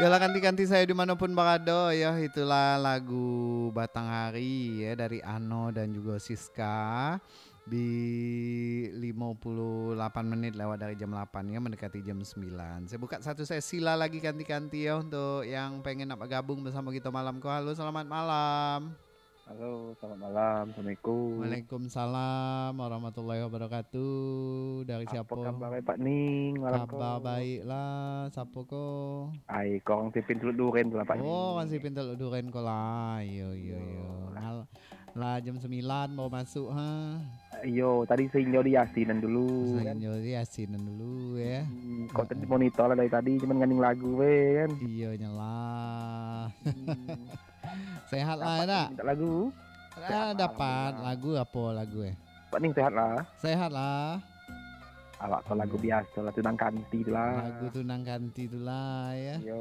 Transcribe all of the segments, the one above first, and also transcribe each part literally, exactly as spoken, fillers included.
Yolah kanti-kanti sayo di mano pun barado, yo, itulah lagu Batang Hari, yo, dari Ano dan jugo Siska di limo puluah lapan menit lewat dari jam lapan, yo, mendekati jam sembilan. Sayo buka satu sesi lah lagi kanti-kanti, yo, untuk yang pengen nak bergabung bersamo kito malam ko. Halo, selamat malam. Halo, selamat malam. Assalamualaikum. Waalaikumsalam warahmatullahi wabarakatuh. Dari siapo? Apo kabar, Pak Ning, malam ko? Kabar baik lah. Siapo ko? Ai, ko urang Sipin Teluk Duren tu lah, Pak Ning. Oh, urang Sipin Teluk Duren ko lah. Iyo, iyo, iyo. Iyo. Mal-, lah jam sembilan baru masuk, ha? Iyo, tadi sainyo di Yasinan dulu, kan? Sainyo di Yasinan dulu, yo. Hmm, kok tadi monitor lah dari tadi, cuman nganing lagu be, kan? Iyo, nyo lah. Hmm. Sehat lah, yo, dak? Dapat minta lagu? Ah, sehat lah, dapat. Alhamdulillah. Lagu apo lagu, eh? Pak Ning sehat lah? Sehat lah. Awak ko lagu biaso lah, Tunang Kanti tu lah. Lagu Tunang Kanti tu lah, yo. Iyo,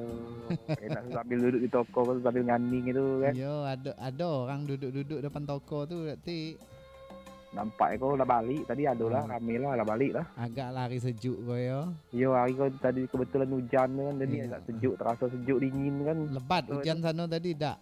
enak sambil duduk di toko ko, sambil nganing itu, kan? Iyo, ado, ado urang duduk-duduk depan toko tu, berarti. Nampak ko lah balik tadi, ado lah, rame lah, lah balik lah. Agak lah hari sejuk ko, yo. Iyo, hari ko tadi kebetulan ujan tu kan, jadi agak sejuk, teraso sejuk, dingin kan. Lebat ujan sano tadi, dak?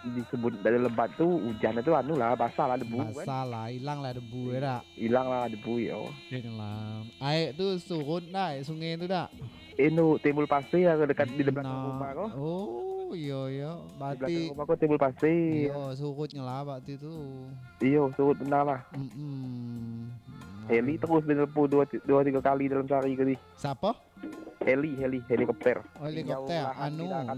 Disebut dari lebat tu, ujan tu anu lah, basah lah debu kan. Basah lah, ilang lah debu, yo dak? Ilang lah debu, yo. Ilang. Aek tu surut dak, aek sungai tu dak? Anu, timbul pasir lah dekat di belakang rumah ko. Oh, iyo, iyo. Di belakang rumah ko timbul pasir. Iyo, surutnyo lah waktu tu. Iyo, surut bana lah. Mm-mm. Heli terus dia telepon dua, dua tiga kali dalam sehari tadi. Siapo? Heli, heli, helikopter. Oh, helikopter. Tinggal lahan anu, di darat.